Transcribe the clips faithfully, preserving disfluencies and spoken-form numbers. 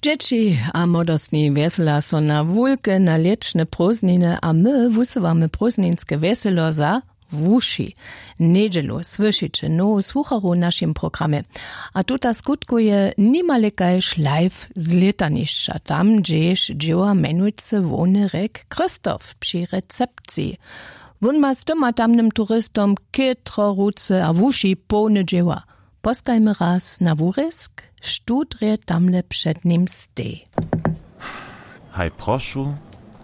Dźěći a młodostni wjesela so na wulke na lětšne prózdniny a my wusyłamy prózdninske wjeselo za wuši. Njedźelu słyšiće nowu słucharu w našim programje. A tuta skutkuje nimale kaž live z lětanišća tam hdźež dźěła mjenujcy hłowny rjek christoph při recepciji. Wón ma z tym a tamnym turistom chětro ruce a wuši połne dźěła. Poskajmy raz na wurězk, štó drje tamle před nim stej. Haj prošu,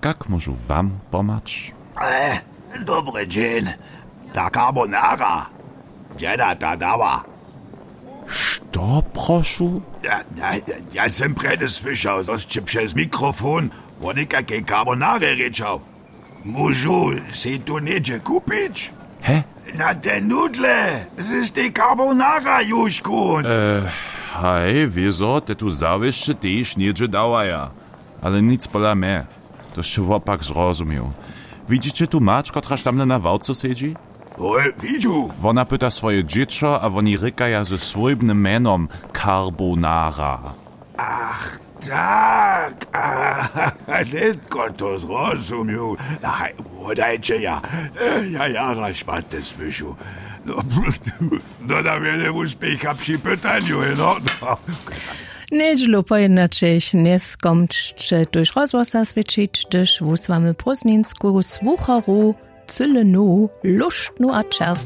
kak móžu wam pomhać? Dobry dźeń. Ta carbonara, dźena ta dała? Što prošu? Ja, ja, ja sym prjedy słyšał zo sće přez mikrofon wo někakej carbonarje rěčał. Móžu sej tu něhdźe kupić? He? Na te nudle z tej carbonara južku. Haj wězo te tu zawěsće tež něhdźe dawaja. Ale nic pola mje. To sće wopak zrozumił. Widźiće tu mać kotraž tamle na ławce sedźi? Hoj, widźu. Wona pyta swoje dźěćo a woni rěkaja ze swójbnym mjenom carbonara. Ach, tak. Nětko to zrozumił. Haj, wodajće ja. Ja jara šmaty słyšu. No, dodawjene wuspěcha při pytanju heno. Njedźelu pojednaćech njeskomčće tuž rozhłosa swětšić hdyž wusłamy prózdninsku słucharu cyle nowu lóštnu a čerstwu.